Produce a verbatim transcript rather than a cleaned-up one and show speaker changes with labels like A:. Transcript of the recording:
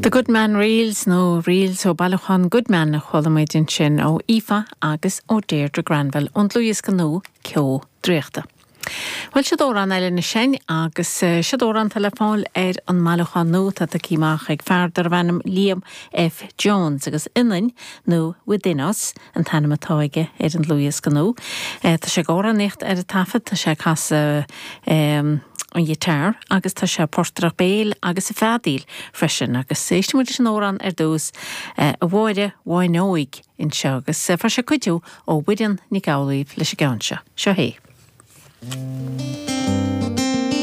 A: The Goodman Reels nó Reels ó bailiúchán Goodman a chuala muid ansin ó Aoife agus ó Deirdre Granville ón dlúthdhiosca nua Ceo Draíochta. Bhuel siod amhrán eile ansin agus siod amhrán atá le fáil ar an mbailiúchán nua atá tagtha amach ag fear darbh ainm Liam F. Jones agus Ionainn nó Within Us an t-ainm atá aige ar an dlúthdhiosca nua. Tá sé ag amhránaíocht ar an taifead tá sé ag casadh um, an guitar agus tá sé portaireacht béil agus ag feadaíl freisin agus éistfidh muid leis an amhrán ar dtús a Mháire Bháin Óig anseo agus fuair sé cuidiú ó Mhuireann Nic Amhlaoibh leis an gceann seo. Seo é.
B: Mm.